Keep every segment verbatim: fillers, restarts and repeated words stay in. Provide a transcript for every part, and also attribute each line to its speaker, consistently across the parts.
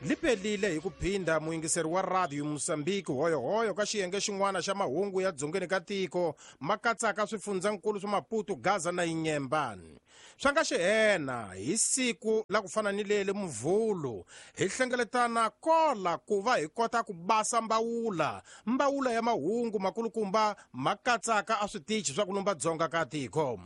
Speaker 1: Lipelile hi ku phinda muyingiseri wa radio Mozambique hoyohoyo ka xiyenge xin'wana xa mahungu ya dzongeni ka tiko ma katsaka swifundzankulu swa Maputo, Gaza na Inyembani. Swa nga xihena hi siku la ku fana ni leli Muvhulu hi hlengeletana kola ku va hi kota ku basa mbawula mbawula ya mahungu makulukumba ma katsaka a switichi swa ku lumba dzonga ka tiko.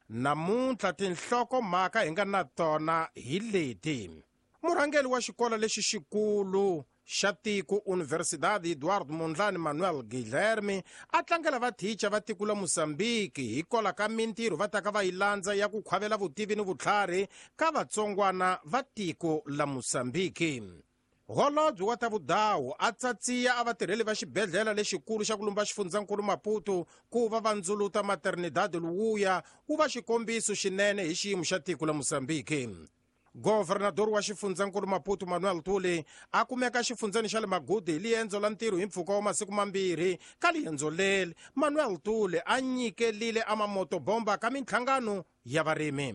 Speaker 1: Namuntlha tinhlokomhaka hi nga na tona hi leti: murhangeri wa xikolo lexi xikulu xa tiko Universidade Eduardo Mondlane Manuel Guilherme a tlangela vathicha va tiko la Mozambique hikola ka mintirho va taka va yi landza ya ku khwavela vutivi ni vutlhari ka vatsongwana va tiko la Mozambique. Holobye wa ta vudawu a tsatsiya a vatirheli va xibedhlele lexikulu xa ku lumba xifundzankulu Maputo ku va va ndzuluta maternidade luwuya wu va xikombiso xinene hi xiyimo xa tiko la Mozambique. Governador wa xifundzankulu Maputo Manuel Tuli a kumeka xifundzeni xa le Magudu hi liendzo la ntirho hi mpfhuka wa masiku mambirhi. Ka liendzo leri Manuel Tuli a nyikelile a mamotobomba ka minhlangano ya varimi.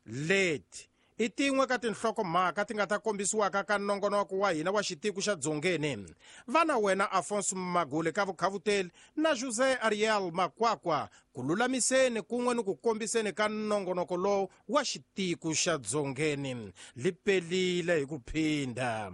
Speaker 1: Leti i tin'we ka tinhlokomhaka ti nga ta kombisiwaka ka nongonoko wa hina wa xitiko xa dzongeni. Vana wena Afonso Magule ka vukhavuteli na José Ariel Makwakwa ku lulamiseni kun'we ni ku kombiseni ka nongonoko lowu wa xitiko xa dzongeni. Lipelile hi ku phinda.